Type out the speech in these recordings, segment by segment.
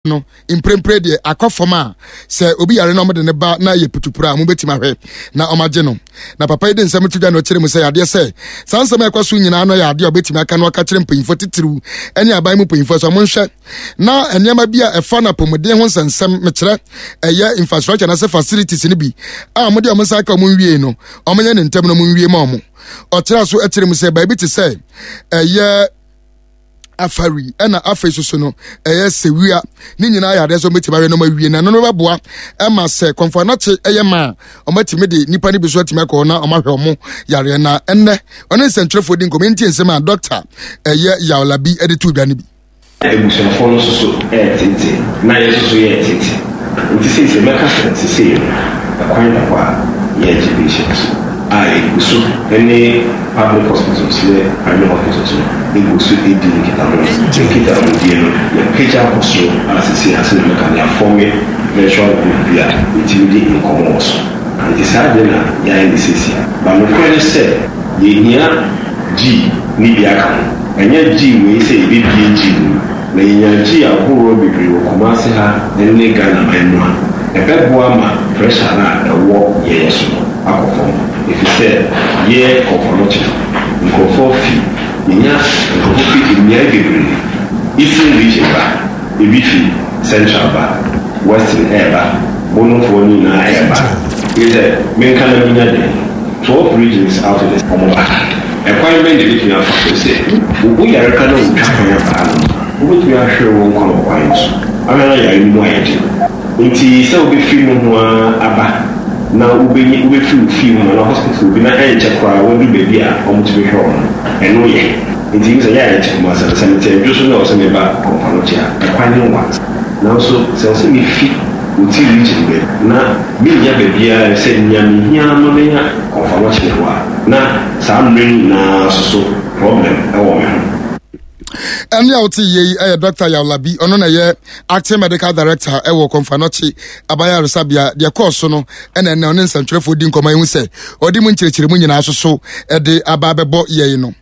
No mprempren deɛ akɔ fam a sɛ obi yare na wɔde ne ba na yɛ putupuru a wɔbɛtumi ahwɛ na wɔagye no. Na papa yi de nsɛm to dwa na ɔkyerɛ mu sɛ adeɛ sɛ saa nsɛm a ɛkɔ so nyinaa no yɛ adeɛ a ɔbɛtumi aka no aka kyerɛ mpanyinfoɔ titiriw ne aban mu mpanyinfoɔ sɛ wɔnhwɛ na nneɛma bi a ɛfa no apɔmuden ho nsɛnsɛm mekyerɛ ɛyɛ infrastructure anaasɛ facilities no bi a wɔde wɔn nsa aka wɔn nwie no wɔnyɛ ne ntɛm na wɔn nwie ma wɔn. Ɔkyerɛ so kyerɛ mu sɛ baabi te sɛ ɛyɛ afari ɛna afei soso no ɛyɛ sewia ne nyinaa yɛ adeɛ sɛ wɔbɛtumi ayɛ no ma wie na ɛno no bɛboa ɛma sɛ kɔnfɔ anakye ɛyɛ ma a wɔatumi de nipa no bi so atumi akɔ na wɔahwɛ wɔn yareɛ na ɛnnɛ ɔne nsɛntwerɛfoɔ di nkɔmɔ nti nsɛm a dɔkta ɛyɛ yawlabi ɛde to dwa no bi. Abusuafoɔ no nso so reteetee, na yɛn nso so yɛreteetee. Nti seisei mɛka sɛ sesei no ɛkwan da hɔ a yɛregye patients a yɛgu so ne public hospitals ne private hospitals no gu so di nkitaho. Nkitahodie no yɛapagya akɔ soro a sesei a sɛdeɛ mɛka no yɛafɔme virtual group bi a yɛtumi di nkɔmmɔ wɔ so. Nti saa deɛ na yɛayɛ no seisei. But nokorɛ ne sɛ yɛhia G ne bi aka ho. Ɛnyɛ G wei sɛ yɛbɛbue G mu. Na yɛnya G ahoroɔ bebree wɔ Kumasi ha ne Ghana man mu a, ɛbɛboa ma pressure no a ɛwɔ yɛn so no akɔ fam. Ɛfiri sɛ yɛ Kɔmfɔnɔkye no, nkorɔfoɔ fi, yɛnya nkorɔfoɔ fi mmeae bebree, Eastern region ba, ebi fi Central ba, Western ɛreba, Bonofoɔ no nyinaa ɛreba. Kyerɛ sɛ, menka na menya dɛn? 12 regions out of the wɔn ba. Ɛkwan bɛn na yɛbɛtumi afa so sɛ wo yare ka na wotwa kwan aba hanom a, wobɛtumi ahwere wo nkwa wɔ kwan no so? Ahwɛ na yare no mu ayɛ den. Enti sɛ wobɛfiri nohoa aba na wobɛnya wobɛfiri wo fie hɔ anaa hospital bi na ɛnkyɛ koraa woadu baabi a wɔtumi hwɛ wo no, ɛno yɛ. Enti ebi sɛ yɛ a yɛte Kumasi no, sɛ mete Adwo so na ɛwɔ sɛ meba Komfo-Anokye a, ɛkwan no nwa. Nanso sɛ ɛwɔ sɛ mefi Oti region baabi na mennya baabiara sɛ nea mehia ma manya Komfo-Anokye hɔ a, na saa mmerɛ no nyinaa nso so problem wɔ me ho. Ɛne a wote yie yi yɛ Dr. Yawlabi, ɔno na ɛyɛ acting medical director ɛwɔ Kɔmfanɔkye abayaresabea. Deɛ kɔɔ so no ɛna ɛnɛ ɔne nsɛntwerɛfoɔ di nkɔmmɔ ehu sɛ ɔde mu nkyerɛkyerɛmu nyinaa soso ɛde aba abɛbɔ yɛn no.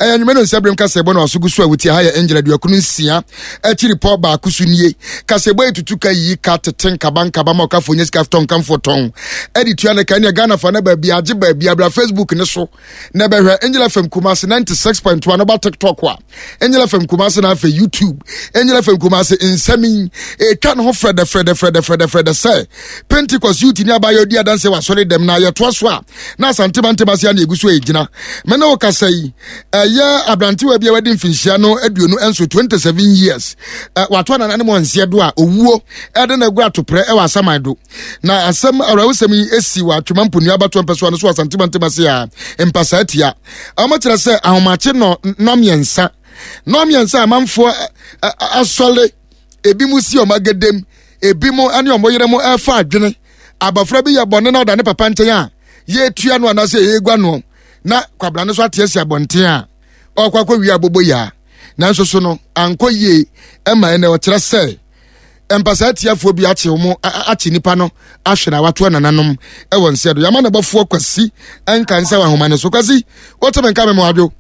Ɛyɛ nwuma no nsɛbirem kasɛbɔ na waso gu so a wotie ha yɛ Angel aduakunu nsia akyiri pɔ baako so nie. Kasɛbɔ yi tutu ka yiyi ka tete nkaba nkaba ma ɔkafoɔ nyɛ sika tɔn nkamfoɔ tɔn ɛde tua ne ka ɛne Ghana fa na baabi agye baabi abira Facebook ne so na bɛhwɛ Angel FM Kumasi 96.1 no ba TikTok a Angel FM Kumasi na afei YouTube Angel FM Kumasi nsɛm yi ɛtwa ne ho frɛdɛ frɛdɛ frɛdɛ frɛdɛ frɛdɛ sɛ Pentecost youth ni abayɛ odi adanse wɔ asɔre dɛm na yɛtoa so a na Asante Mantam ase a na egu so egyina me ne wo kasa yi ɛyɛ aberantewa bi a wadi mfinhyia no 27, 27 years wato anana ne mu anseɛ do a owuo ɛde na agu atoprɛ ɛwɔ asaman do. Na asɛm awerɛhosɛm yi esi wɔ Atwema Mponua abatoɔ mpɛsoa no so Asante mantam ase a mpasaa tia. Wɔkyerɛ sɛ ahomakye nɔ nnɔmmiɛnsa nnɔmmiɛnsa amanfoɔ asɔre ebi mu si wɔn agadam ebi mu ne wɔn yere mu ɛrefa adwene abɔfra bi yɛ bɔne na ɔda ne papa nkyɛn a yɛretua no anaasɛ yɛregua no na kwabra no so ate asi abɔnten a ɔrekɔ akɔwie abobo yaa nanso so no ankɔ yie ɛma ɛnɛ ɔkyerɛ sɛ mpasaa atiafoɔ bi akye wɔn akye nipa no ahwɛ na watoa nananom wɔ nsɛ do yɛama ne bɔfoɔ Kwasi nka nsɛ wɔ ahoma no so. Kwasi, wote me nka me mo adwo?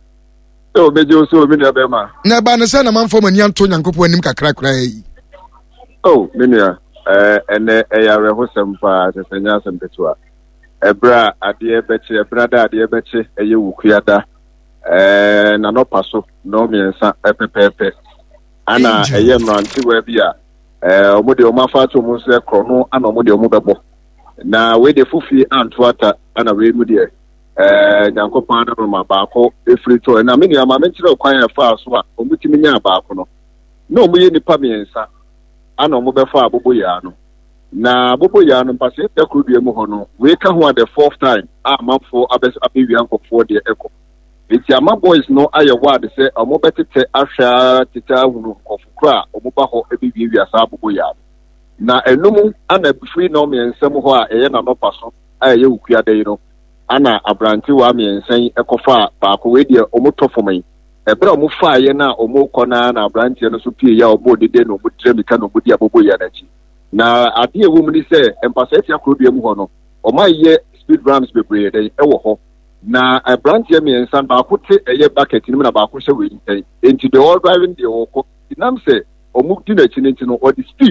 Sɛ obegye wo so, me nua bɛrima. Na ɛbaa ne sɛ na manfa mo ani anto Nyankopɔn anim kakra koraa yi. Oh, me nua, ɛnɛ ɛyɛ awerɛhosɛm paa, kyɛ sɛ nyɛ asɛm ketewa. Ɛberɛ a adeɛ bɛkye, ɛberɛ da adeɛ bɛkye, ɛyɛ wukuada, ɛɛ nanɔpa so, nnɔnmiɛnsa pɛpɛɛpɛ. Ana ɛyɛ mmerantewa bi a ɛɛ wɔn deɛ wɔn afa ato wɔn nso korɔ no ana wɔn deɛ wɔn bɛbɔ. Na wei deɛ fofie anto ata ana wei mu deɛ ɛɛ Nyankopɔn adom ma baako efiri tɔ. Na me nua ma menkyerɛ kwan a ɛfaa so a wɔn tumi nyaa baako no. Na wɔn yɛ nipa mmiɛnsa ana wɔn bɛfa aboboyaa no. Na aboboyaa no mpasɛɛ da koro dua mu hɔ no wei ka ho a the fourth time a amanfoɔ abɛ abɛwia nkɔfoɔ deɛ ɛkɔ. Enti ama boys no ayɛ ward sɛ ɔmo bɛtetɛ ahwɛ ara tetɛ ahunu nkorɔfo koro a ɔmo ba hɔ bɛwiawia saa aboboyaa no. Na ɛno mu ana firi nnɔnmiɛnsa mu hɔ a ɛyɛ n'anɔpa so a ɛyɛ Wukuada yi no ana abrantewaa mmiɛnsa yi kɔfaa baako, wei deɛ ɔmo tɔ fam yi. Ɛberɛ a ɔmo faaeɛ no a ɔmo rekɔ no ara na abranteɛ no nso pieeɛ a ɔbɔɔ dede na ɔmo tiri amika na ɔmo di aboboyaa no akyi. Na adeɛ a ɛwɔ mu ne sɛ Mpasatia kurodua mu hɔ no ɔmo ayɛ speed ramps bebree dɛn ɛwɔ hɔ. Na abranteɛ mmiɛnsa baako te ɛyɛ bucket no mu na baako hyɛ wei nkyɛn. Enti deɛ ɔredrive no deɛ ɔrekɔ. Nti nam sɛ. wɔn di n'akyi no nti no, ɔde speed.